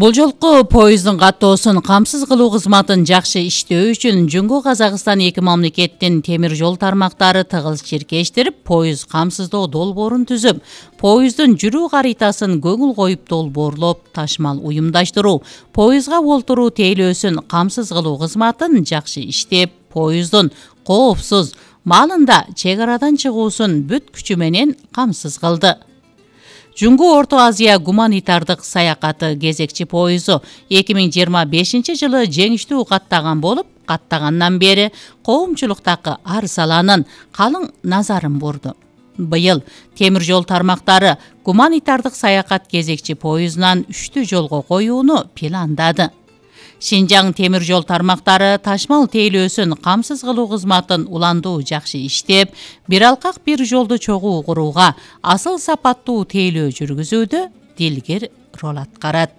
Бул жолку поезддун каттоосун камсыз кылуу кызматын жакшы иштөө үчүн Жунгу Казакстан эки мамлекеттин темир жол тармактары тыгыз чиркештирип, поезд камсыздоо долбоорун түзүп, поезддин жүрүү каритасын көңүл коюп долбоорлоп, ташмал уюмдаштыруу, поездга олтуруу тейлөөсүн камсыз кылуу кызматын жакшы иштеп, поезддун коопсуз маалында чек арадан чыгуусун бүт күчү менен камсыз кылды. Жунгу Орто Азия гуманитардык саякаты кезекчи поезду 2025 жылы жеңиштүү каттаган болуп, каттагандан бери коомчулуктагы ар саланын калың назарын бурду. Быйыл темир жол тармактары гуманитардык саякат кезекчи поездунан үчтү жолго коюуну пландады. Шинжаң темир жол тармактары ташмал тейлөөсүн камсыз кылуу кызматын уландуу жакшы иштеп, бир алкак бир жолду чогуу курууга асыл сапаттуу тейлөө жүргүзүүдө дилгир роль аткарат.